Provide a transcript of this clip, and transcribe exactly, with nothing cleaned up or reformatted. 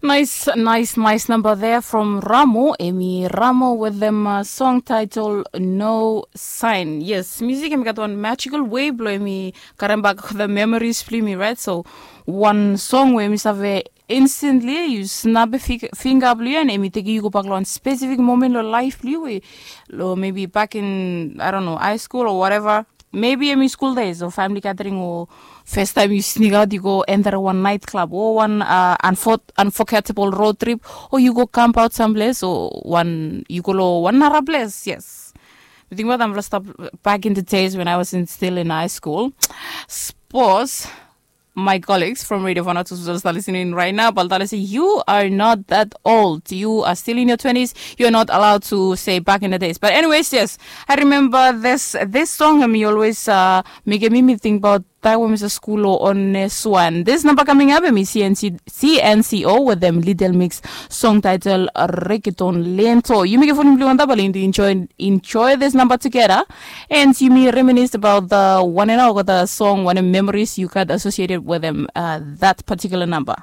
Nice, nice, nice number there from Ramo. Emi Ramo with them uh, song title No Sign. Yes, music emi gat one magical way blo emi karem bak the memories blo emi, right? So one song where emi save instantly you snap a finger blo you and emi take you go back lo one specific moment lo life blo you, lo maybe back in, I don't know, high school or whatever. Maybe emi school days o family gathering o first time you sneak out, you go enter one night club o one uh, unforgettable road trip, o you go camp out someplace o one you go lo one nara place. Yes, you think about them stop back in the days when I was in, still in high school. Suppose my colleagues from Radio Vanuatu Susal start listening right now, but they say you are not that old. You are still in your twenties. You're not allowed to say back in the days. But anyways, yes, I remember this this song. Mi always uh, make me think about time when mi stap skul o on this one. This number coming up, emi C N C, C N C O with them Little Mix song title Reggaeton Lento. Yumi ke fon bli wanda bali to enjoy enjoy this number together. And yumi reminisce about the one and all the song, what memories you got associated with them, uh, that particular number.